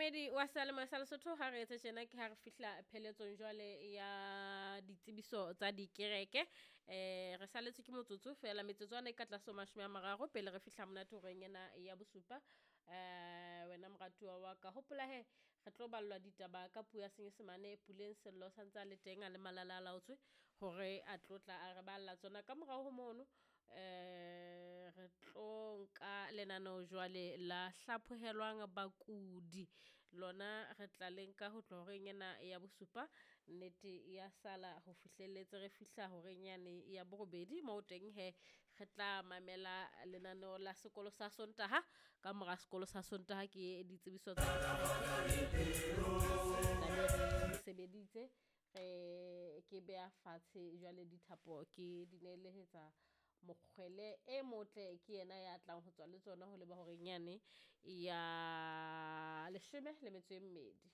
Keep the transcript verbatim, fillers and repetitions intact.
Momamedi wa seyalemoya sa Lesotho, ha re etse tjena ke ha re fihla pheletsong jwale ya ditsebiso tsa dikereke. Eh re saletswe ke motsotso fela, metsotswana e ka tlase ho mashome a mararo pele re fihla monate horeng ena ya bosupa. Eh wena moratuwa wa ka, hopola he re tlo ballwa ditaba ka puo ya Senyesemane. Puleng Sello sa ntse a le teng, a le malala a laotswe hore a tlo tla a re balla tsona. Ka morao ho mono eh re tlo nka lenaneo jwale la hlaphohelwang bakudi, lona re tla le nka ho tloha horeng ena ya bosupa, nnete ya sala ho fihlelletse re fihla horeng yane ya borobedi, moo teng he re tla mamela lenaneo la sekolo sa Sontaha. Ka mora sekolo sa Sontaha ke ditsebiso tsa re sebeditse, re ke beha fatshe jwale dithapo ke di neelehetsa Mokgwele e motle, ke yena ya tlang ho tswa le tsona ho leba horeng yane ya leshome le metso e mmedi.